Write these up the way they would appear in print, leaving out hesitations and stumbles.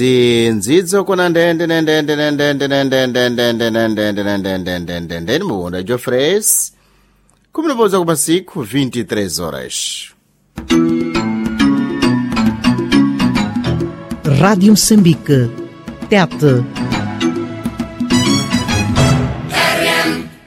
Nzidzo kuna ndende nende nende nende nende nende nende nende nende nende nende mubunda Jofres kuminopoza kumasiku 23 horas. Rádio Moçambique. Tete.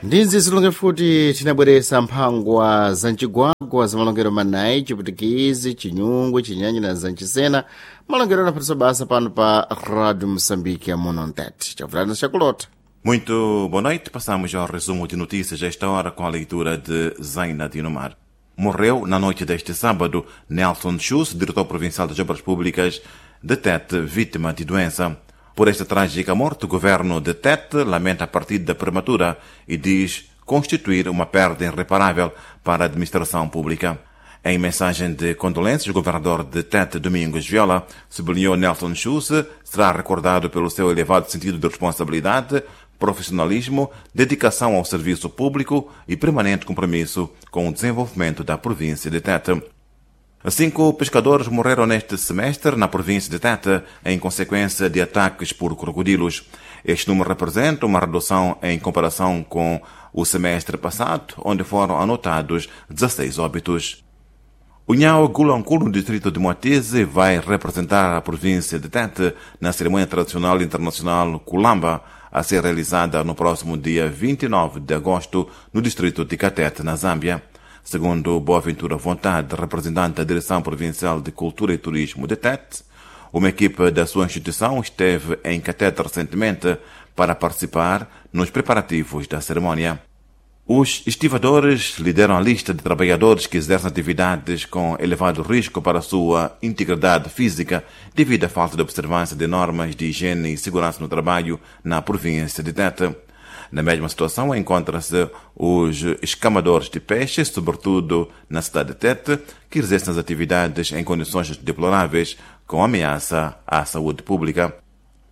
Ndinzi zilonge futi tinabweresa mphangwa za mcigwagwa za malongero manayi, chiputikizi, chinyungwe, chinyanyi na zanchisena, malongero anaphatisa basa pano pa Rádio Moçambique ya muno ntete. Chavulana chakulota. Muito boa noite. Passamos ao resumo de notícias a esta hora com a leitura de Zaina Dinomar. Morreu na noite deste sábado Nelson Schuss, diretor provincial das Obras Públicas de Tete, vítima de doença. Por esta trágica morte, o governo de Tete lamenta a partida prematura e diz constituir uma perda irreparável para a administração pública. Em mensagem de condolências, o governador de Tete, Domingos Viola, sublinhou Nelson Schuss será recordado pelo seu elevado sentido de responsabilidade, profissionalismo, dedicação ao serviço público e permanente compromisso com o desenvolvimento da província de Tete. 5 pescadores morreram neste semestre na província de Tete em consequência de ataques por crocodilos. Este número representa uma redução em comparação com o semestre passado, onde foram anotados 16 óbitos. O Nhau Gulankulu, no distrito de Moatize, vai representar a província de Tete na cerimônia tradicional internacional Kulamba, a ser realizada no próximo dia 29 de agosto no distrito de Catete, na Zâmbia. Segundo Boaventura Vontade, representante da Direção Provincial de Cultura e Turismo de Tete, uma equipe da sua instituição esteve em Catete recentemente para participar nos preparativos da cerimônia. Os estivadores lideram a lista de trabalhadores que exercem atividades com elevado risco para a sua integridade física devido à falta de observância de normas de higiene e segurança no trabalho na província de Tete. Na mesma situação encontram-se os escamadores de peixe, sobretudo na cidade de Tete, que exercem as atividades em condições deploráveis, com ameaça à saúde pública.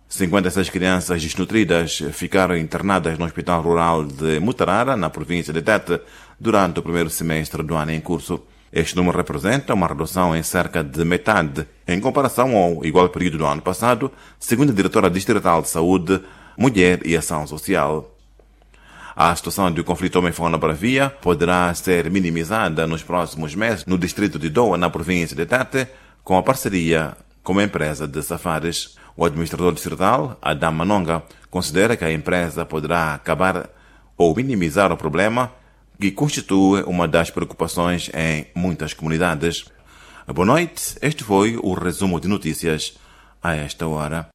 56 crianças desnutridas ficaram internadas no Hospital Rural de Mutarara, na província de Tete, durante o primeiro semestre do ano em curso. Este número representa uma redução em cerca de metade em comparação ao igual período do ano passado, segundo a diretora distrital de Saúde, Mulher e Ação Social. A situação de conflito homem-fauna bravia poderá ser minimizada nos próximos meses no distrito de Doa, na província de Tete, com a parceria com a empresa de safaris. O administrador distrital, Adam Manonga, considera que a empresa poderá acabar ou minimizar o problema que constitui uma das preocupações em muitas comunidades. Boa noite, este foi o resumo de notícias a esta hora.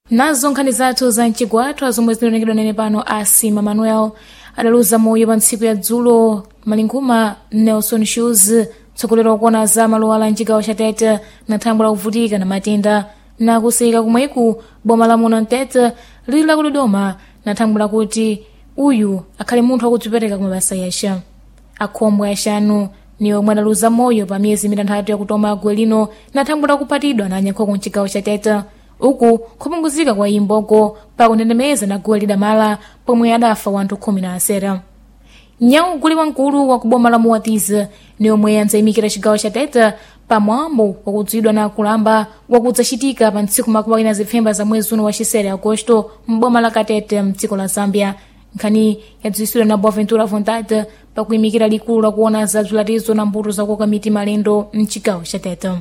Nazo nkhani zathu za mchigwathu zomwe zinaonekera nene pano asima Manuel adaluza moyo pa ntsiku ya dzulo malinguma Nelson Shoes, mtsogoleri wakuona za malowala mchigawo cha Tete, na thangwi lakuvutika na matenda na kuseyika kumweku boma la muno Mtete lili la kudodoma na thangwi lakuti uyu akhale munthu wakudzipereka kumabasa yaxa. Akhombwe axanu ni omwe adaluza moyo pa miyezi mitanthatu yakutoma gwe lino na thangwi lakupatidwa na anyakhoko mchigawo cha Tete, uku kupunguzika kwa imboko pakundendemeza na guwa lidamala pomwe adafa wanthu 17. Nyawu guli wamkulu wa kuboma la Muwatiza ni omwe andzayimikira cigawo cha Tete pamwambo wakudziwidwa na kulamba wakudzacitika pa ntsiku makumi awiri na zipfemba za mwezi uno wa xisere Agosto m'boma la Katete mdziko la Zambia. Nkhani yadziwitsidwa na Boaventura Vontade pakuyimikira likulu lakuona za bzilatizo na mbuto zakukoka miti malendo mcigawo cha Tete.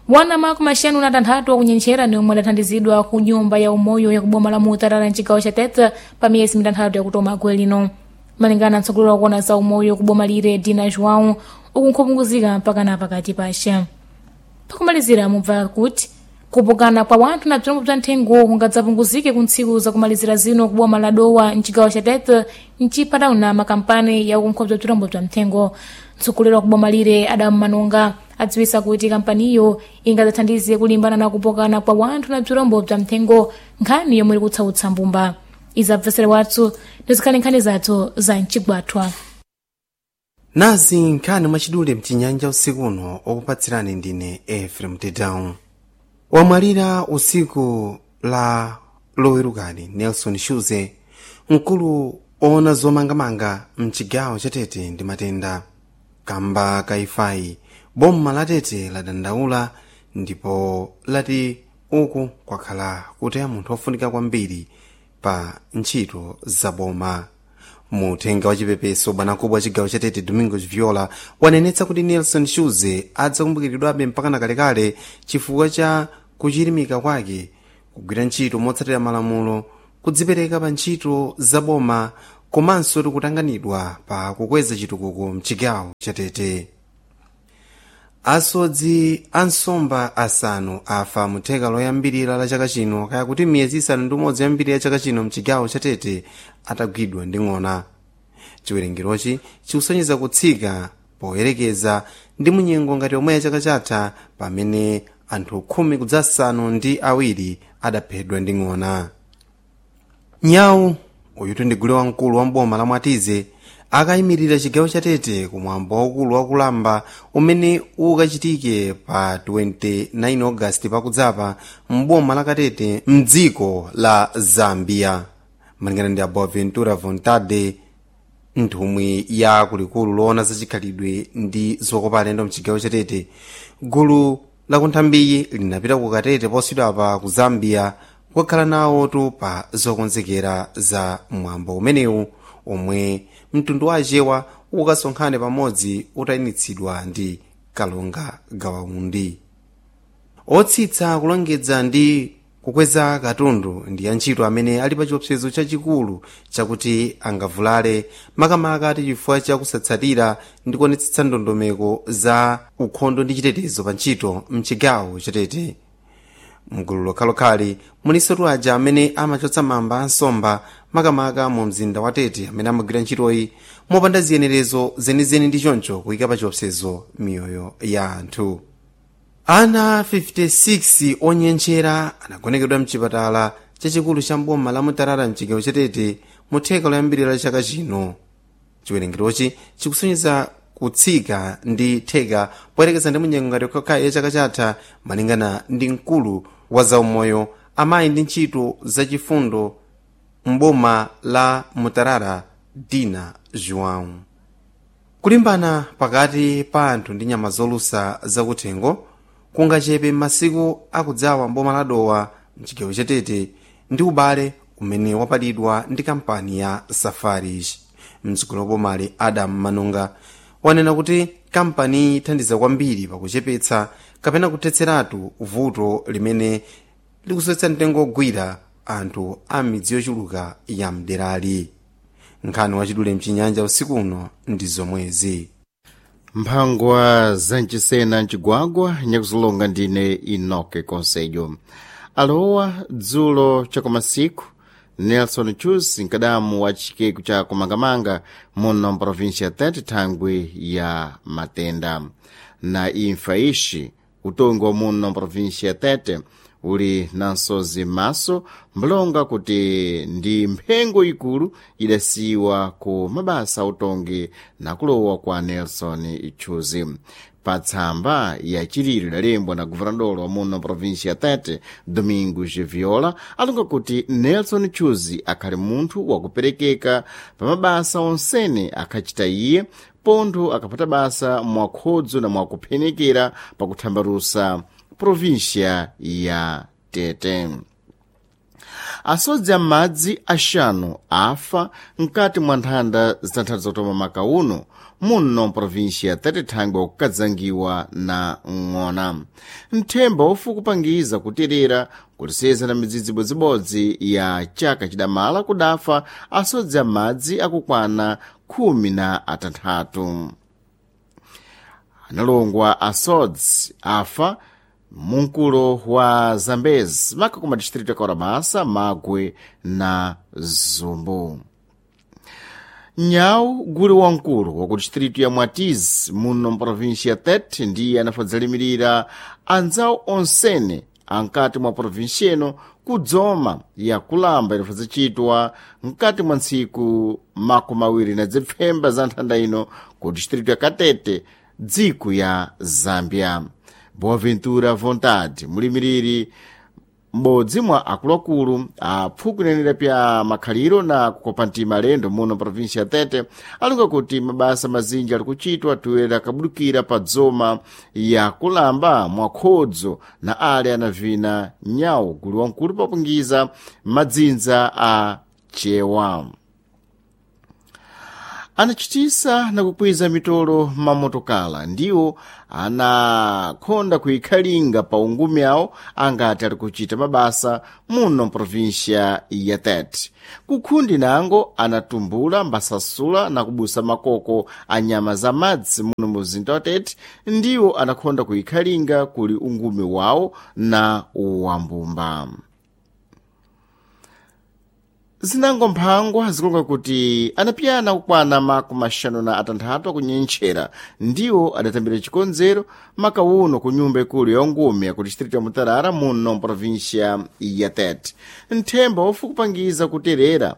Wana makumi axanu na tanthatu akunyenchera ni omwe adathandizidwa ku nyumba ya umoyo ya kuboma la Mutarara mcigawo cha Tete pa miyezi mitanthatu yakutoma gwe lino. Malingana na mtsogoleri wakuona za umoyo kuboma lire Dina João, uku nkhupunguzika mpaka na pakati paxa. Pakumalizira mubva kuti kupokana kwa wanthu na bzirombo bza nthengo kungadzapunguzike ku ntsiku zakumalizira zino kuboma la Dowa mcigawo cha Tete mcipatauna makampani ya ukunkhobza bza bzirombo bza mthengo. Mtsogoleri wa kuboma lire Adamu Manonga adziwisa kuti kampaniyo ingadzathandize kulimbana na kupokana kwa wanthu na bzirombo bza mthengo, nkhani yomwe ikutsautsa mbumba. Izabvesere wathu ndizikhale nkhani zathu za mcigwathwa. Nazi nkhani mwachidule mchinyanja usiku uno, okupatsirani ndine Efrem Tedown. Wamwalira usiku la lowerukali Nelson Shuze, mkulu oona zomangamanga mchigawo cha Tete ndi matenda kamba kaifai. Boma la Tete ladandaula ndipo lati Uku kwakhala kutaya munthu ofunika kwambiri pa ntchito zaboma. Muthenga wa chipepeso, bwanamkubwa wa chigawo cha Tete Domingos Viola wanenetsa kuti Nelson Shuze adzakumbukiridwabe mpakana kalekale chifukwa cha kuchirimika kwake, kugwira ntchito motsatira malamulo, kudzipereka pa ntchito zaboma komanso tikutanganidwa pa kukweza chitukuko mchigawo cha Tete. Asodzi ansomba asanu afa mutheka loyambirira la chaka chino, kaya kuti miyezi 6 yoyambirira ya chaka chino mchigawo cha Tete, atagwidwa ndi ng'ona. Chiwerengerochi chikusonyeza kutsika poyerekeza ndi munyengo ngati yomwe ya chaka chatha, pamene anthu 17 adaphedwa ndi ng'ona. Nyawu uyutu ndi gule wamkulu wa mboma la Mwatize akayimirira chigawo cha Tete kumwambo waukulu wakulamba umene ukachitike pa 29 Ogasiti pakudzapa mboma la Katete mdziko la Zambia. Malingana ndi Boaventura Vontade, nthumwi ya kulikulu loona zachikhalidwe ndi zokopa alendo mchigawo cha Tete, gulu lakunthambiyi linapita ku Katete posachedwapa ku Zambia kukakhala nawotu pa zokonzekera za mwambo umenewu omwe mtundu wa Achewa ukasonkhane pamodzi utayinitsidwa ndi Kalonga Gawaundi. Otsitsa, kulongedza ndi kukweza katundu ndi antchito amene ali pa chiopsezo chachikulu chakuti angavulale, makamaka ati chifukwa chakusatsatira ndi kuonetsetsa ndondomeko za ukhondo ndi chitetezo pa ntchito mchigawo cha Tete. Mgulu lokhalokhali mulinso aja amene amachotsa mamba ansomba, makamaka mu mzinda wa Tete, amene amagwira ntchitoyi mopanda ziyenerezo zenizeni ndi choncho kuyika pa chiopsezo miyoyo ya anthu. Ana 56 onyenchera anagonekedwa mchipatala chachikulu cha mboma la Mutarara mchigawo cha Tete mu theka loyambirira la chaka chino. Chiwerengerochi chikusonyeza kutsika ndi theka poyerekeza ndi munyengo ngati yokhayokhayi ya chaka chatha, malingana ndi mkulu wa zaumoyo, amayi ndi ntchito zachifundo mboma la Mutarara, Dina João. Kulimbana pakati pa anthu ndi nyama zolusa zakuthengo kungachepe m'masiku akudzawa mboma la Dowa mchigawo cha Tete ndi ubale umene wapalidwa ndi kampani ya Safaris. Mtsogoleri wa bomali Adam Manunga wanena kuti kampani ithandiza kwambiri pakuchepetsa kapena kuthetseratu vuto limene likusowetsa mtengo ogwira anthu a midzi yochuluka ya mderali. Nkhani wachidule mchinyanja usiku uno ndi zomwezi. Mphangwa zanchisena mcigwagwa nyakuzilonga ndine Enoke Konsejo. Alowa dzulo chakumasiku Nelson Chus, nkadamu wa chikeku cha kumangamanga muno mprovinsia ya Tete thangwi ya matenda na imfa ixi. Utongi wa muno mprovinsia ya Tete uli na nsozi m'maso mbulonga kuti ndi mphengo ikulu idasiwa ku mabasa autongi na kulowa kwa Nelson Chuzi. Pa tsamba ya chililo idalembwa na guvernador wa muno provinsia ya Tete Domingos Viola, alonga kuti Nelson Chuzi akhali munthu wakuperekeka pa mabasa onsene akhachita iye, pontho akhapata basa mwakhodzo na mwakuphenekera pakuthambalusa província ya Tete. Asodzi am'madzi axanu afa mkati mwa nthanda zitanthatu zakutoma maka uno muno mprovíncia ya Tete thangwi wakukadzangiwa na ng'ona. Nthemba wofukupangiza kuterera kutiseza na midzidzi ibodzibodzi ya chaka chidamala kudafa asodzi am'madzi akukwana 16. Analongwa asodzi afa munkulo wa Zambezi maka kuma distrito ya Kaurabasa, Magwe na Zumbu. Nyawu guli wamkulu wa ku distrito ya Mwatizi muno mprovinsia ya Tete ndiye anafadzalimirira anzawo onsene ankati mwa provinsia ino kudzoma ya kulamba inafadzachitwa mkati mwa ntsiku 27 za nthanda ino ku distrito ya Katete, dziko ya Zambia. Boaventura Vontade, mulimiriri M'bodzi mwa akuluakulu apfukunenera pya makhaliro na kukopa mtima alendo muno província ya Tete alonga kuti mabasa mazinji ali kuchitwa toera akabudukira pa dzoma ya kulamba mwakhodzo na ale anavina nyawu gulu wamkulu papungiza madzinza a chewa. Anachitisa na kukwiza mitolo mamotokala ndiwo anakhonda kuikhalinga pa ungumi awo angati ali kuchita mabasa muno mprovíncia ya Tete. Kukhundi nango anatumbula mbasasula na kubusa makoko a nyama za madzi muno muzinda wa Tete ndiwo anakhonda kuikhalinga kuli ungumi wawo na wambumba. Zinango mphangwa zikulonga kuti anapiyana kukwana 56 akunyenchera ndiwo adatambira chikonzero makauno ku nyumba ikulu ya ungumi yaku distrito ya Mutarara muno mprovíncia ya Tete. Nthemba wofukupangiza kuterera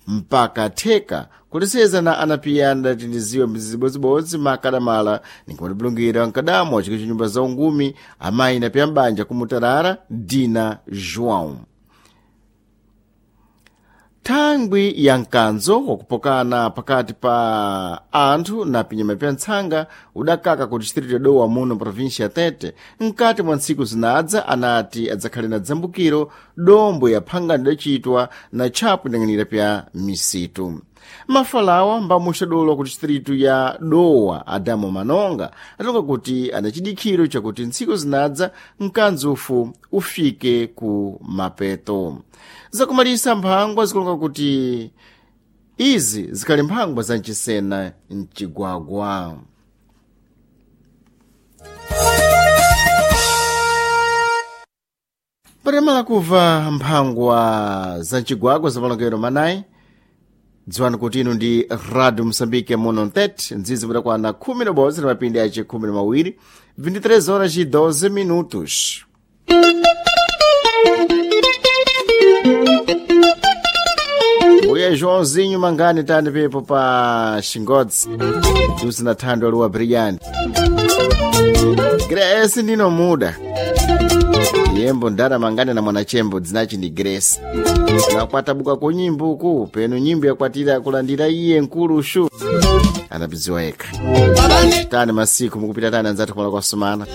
mpaka theka kuleseza na anapiyana adatindiziwa mzibodzibodzi makadamala ninkumatibulungira mkadamo wa chiko cha nyumba za ungumi amayi napiya mbanja ku Mutarara Dina João. Thangwi ya mkanzo wakupokana pakati pa anthu na pinyama pya ntsanga udakaka ku distrito ya Dowa muno província ya Tete mkati mwa ntsiku zinadza anati adzakhale na dzambukiro dombo ya phangano idacitwa na tchapu idang'anira pya misitu. Mafalawa mbamuxadolo ku distrito ya Dowa Adamo Manonga atonga kuti ana chidikhiro chakuti ntsiku zinadza mkanzo ufu ufike ku mapeto. Zakumalisa mphangwa zikulonga kuti izi zikhali mphangwa za mchisena mcigwagwa. Patamala kuva mphangwa za mcigwagwa za malongero manayi, dziwani kuti inu ndi Radio Moçambique muno mtete nzizi mudakwana 11 na mapindi ace 12 23 horas e 12 minutos. Uye Joãozinho Mangani tani pepo pa Xingodzi usina thando aluwa brilliant Grace ndino muda yembo ndara mangani na mwanachembo dzinachi ndi Grace nakwatabuka ku nyimbo uku penu nyimbo yakwatira kulandira iye nkulushu anapidziwa yekha tani masiku mukupita tani anzathu kumala kwasumana.